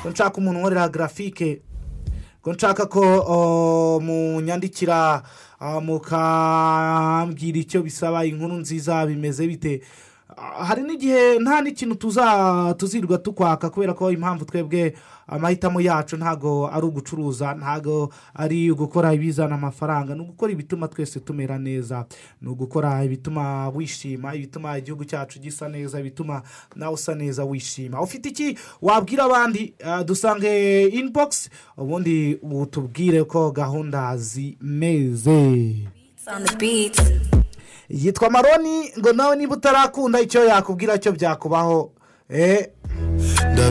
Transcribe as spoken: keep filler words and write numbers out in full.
ko nshaka umuntu nkorera graphique, ko nshaka ko munyandikira mukambwira icyo bisaba, inkuru nziza bimeze bite. Hari n'igihe nta n'ikintu tuza tuzirwa tukwaka kubera ko impamvu twebwe amahitamo yacu ntago ari ugucuruza, ntago ari ugukora ibizana amafaranga, ni ugukora ibituma twese tumera neza, ni ugukora ibituma wishima, ibituma igihugu cyacu gisa neza, ibituma nawe usa neza wishima. Ufite iki wabwira abandi? Uh, dusange inbox ubundi utubwire ko gahunda zimeze. Yitwa Maroni, ngo nawe niba utarakunda icyo yakubwira cyo byakubaho eh